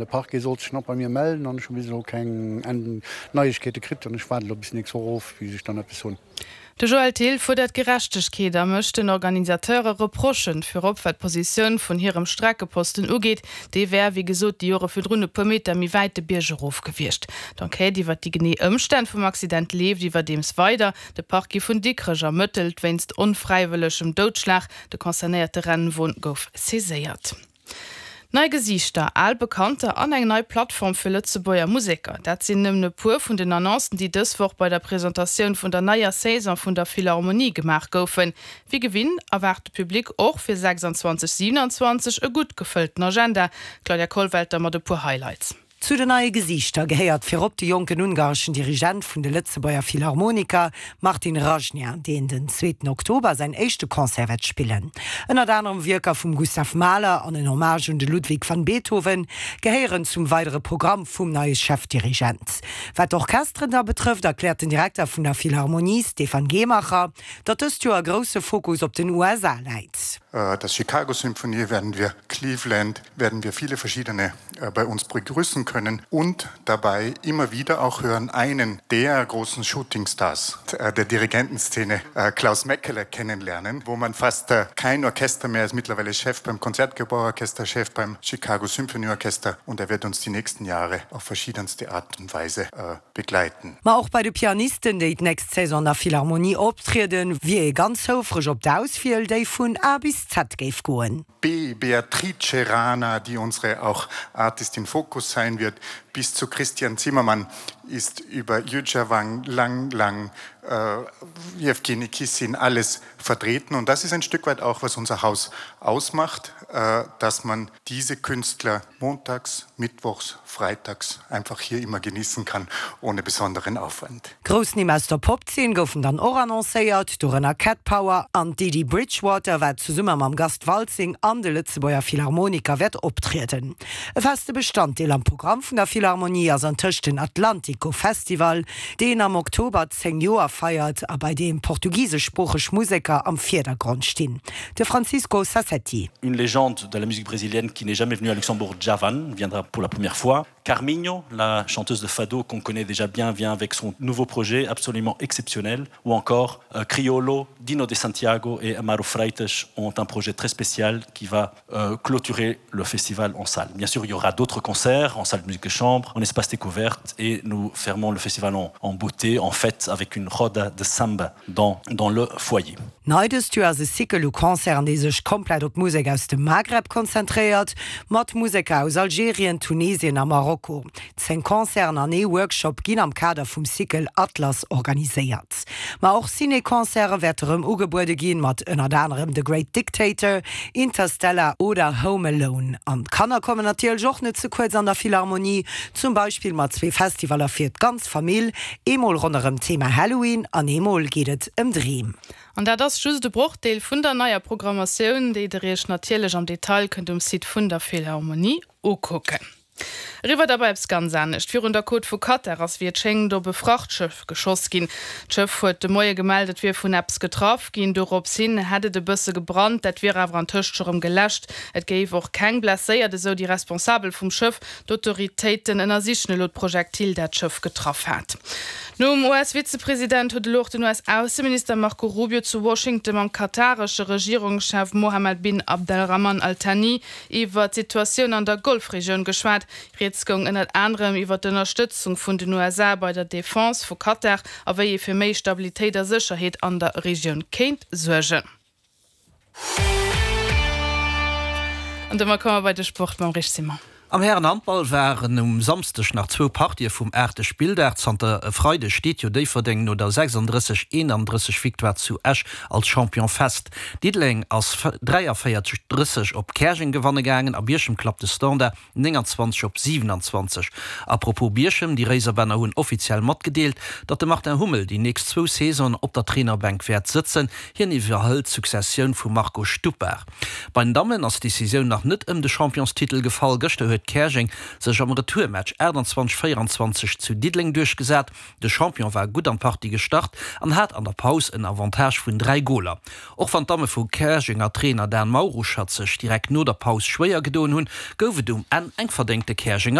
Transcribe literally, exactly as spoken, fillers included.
De Parquet sollt sech nach bei mir mellen an ech hu bis elo keng Neiegkeete kritt an ech waarde elo bis nächst Woch of, bis ech dann eppes hunn. De Joël Thill fuerdert Gerechtegkeet a mécht den Organisateure Reprochen, virop wat d'Positioun vun hirem Streckeposten ugeet. Dee wär, wéi gesot, déi Jore virdrun e puer Meter méi wäit de Bierg erof gewiescht. D'Enquête iwwer déi genee Ëmstänn vum Accident leeft iwwerdeems weider. De Parquet vun Dikrech ermëttelt wéinst onfräiwëllegem Doudschlag. De concernéierte Rennwon gouf saiséiert. Nei Gesiichter, al Bekannter an eng nei Plattform fir Lëtzebuerger Museker, dat sinn nëmmen e puer vun den Annoncen, déi dës Woch bei der Presentatioun vun der neier Saison vun der Philharmonie gemaach goufen. Wéi gewinnt erwaart de Public och fir sechsundzwanzeg siewenundzwanzeg e gutt gefëllten Agenda. D'Claudia Kollwelter mat e puer Highlights. Zu den neie Gesiichter gehéiert virop de jonken ungareschen Dirigent vun de Lëtzebuerger Philharmoniker, Martin Rajna, deen den zweeten Oktober säin éischte Concert wäert spillen. Ënnert anerem Wierker vum Gustav Mahler an en Hommage un de Ludwig van Beethoven gehéieren zum weidere Programm vum neie Chefdirigent. Wat d'Orchesteren da betrëfft, erkläert den Direkter vun der Philharmonie, Stefan Gehmacher, datt dëst Joer grousse Fokus op den U S A läit. Das Chicago Symphonie werden wir, Cleveland werden wir viele verschiedene bei uns begrüßen können und dabei immer wieder auch hören einen der großen Shootingstars der Dirigentenszene, Klaus Mäkelä, kennenlernen, wo man fast kein Orchester mehr ist, mittlerweile Chef beim Concertgebouw-Orchester, Chef beim Chicago Symphony Orchester und er wird uns die nächsten Jahre auf verschiedenste Art und Weise begleiten. Ma och bei de Pianisten, déi d'nächst Saison an der Philharmonie optrieden, wier ee ganz houfreg op d'Auswiel, déi vun A bis Z géif goen. B, Beatrice Rana, die unsere auch Artist in Focus sein wird, bis zu Christian Zimmermann ist über Yuja Wang, Lang Lang, äh, Jewgeni Kissin alles vertreten. Und das ist ein Stück weit auch, was unser Haus ausmacht, äh, dass man diese Künstler montags, mittwochs, freitags einfach hier immer genießen kann, ohne besonderen Aufwand. Grouss Nimm aus der Popzeen goufen dann och annoncéiert, dorënner Cat Power an Dee Dee Bridgewater, wat zesumme mam Gast Waltzing an de Lëtzebuerger Philharmoniker wäert optrieden. E feste Bestanddeel am Programm vun der Philharmonie ass antëscht den Atlantico Festival, deen am Oktober zéng Joer feiert a bei deem portugiseschsproocheg Museker am Virdergrond stinn. De Francisco Sassetti. Une légende de la musique brésilienne qui n'est jamais venue à Luxembourg, Djavan, viendra pour la première fois. Carminho, la chanteuse de fado qu'on connaît déjà bien, vient avec son nouveau projet absolument exceptionnel. Ou encore, euh, Criolo, Dino de Santiago et Amaro Freitas ont un projet très spécial qui va, euh, clôturer le festival en salle. Bien sûr, il y aura d'autres concerts en salle de musique de chambre, en espace découverte, et nous fermons le festival en, en beauté, en fête, avec une roda de samba dans, dans le foyer. Nei dëst Joer ass e Cycle u Concerten, dee sech komplett op Musek aus dem Maghreb konzentréiert, mat Museker aus Algerien, Tunesien a Marokko. Zéng Concerten an ee Workshop ginn am Kader vum Cycle Atlas organiséiert. Ma och Ciné-Concerte wäerte rëm ugebuede ginn, mat ënnert anerem The Great Dictator, Interstellar oder Home Alone. An d'Kanner kommen natierlech och net ze kuerz an der Philharmonie, zum Beispill mat zwee Festivaller fir d'ganz Famill, eemol ronderëm d'Thema Halloween an eemol geet et ëm Dreem. An dat ass just de Brochdeel vun der neier Programmatioun, déi der iech natierlech am Detail kënnt um Site vun der Philharmonie ukucken. Eriwwer da bei eppes ganz anescht. Virun der Côte vu Katar ass wéi et schéngt op e Frachtschëff geschoss ginn. D'Schëff huet de Moie gemellt, et wier vun eppes getraff ginn. Dorops hin hätt et e bësse gebrannt, dat wier awer antëscht scho rëm geläscht. Et géif och keng Blesséiert, esou déi Responsabel vum Schëff. D'Autoritéiten ënnersichen elo d'Projektil, dat d'Schëff getraff hat. Nom U S-Vizepresident huet elo och den U S-Ausseminister Marco Rubio zu Washington mam kataresche Regierungschef Mohammed bin Abdelrahman Al-Thani iwwer d'Situatioun an der Golfregioun geschwat. Rieds goung ënnert anerem iwwer d'Ënnerstëtzung vun den U S A bei der Defense vu Katar a wéi ee fir méi Stabilitéit a Sécherheet an der Regioun kéint suergen. An domat komme mer bei de Sport mam Rich Simon. Am Härenhandball waren um Samschdeg nach zwou Partië vum aachte Spilldag. Zanter e Freideg steet jo Déifferdeng no der sechsunddrësseg eenandrësseg Victoire zu Esch als Champion fest. Diddeleng ass dräiavéierzeg drësseg op Käerjeng gewanne gaangen a Bierchem klappt de Standard nénganzwanzeg op siewenanzwanzeg. Apropos Bierchem, déi Réiserbänner hunn offiziell matgedeelt, datt de Martin Hummel déi nächst zwou Saisonen op der Trainerbänk wäert sëtzen. Hien iwwerhëlt d'Successioun vum Marco Stupar. Bei den Dammen ass d'Decisioun nach net ëm de Championstitel gefall. Gëschter huet huet Käerjeng sech am Retourmatch achttanzwanzeg véieranzwanzeg zu Diddeleng duerchgesat. De Champion war gutt an d'Partie gestart an hat an der Paus en Avantage vun dräi Goler. Och wann d'Damme vu Käerjeng a Trainer Dan Mauruschatt sech direkt no der Paus schwéier gedoen hunn, gouf et um Enn eng verdéngte Käerjenger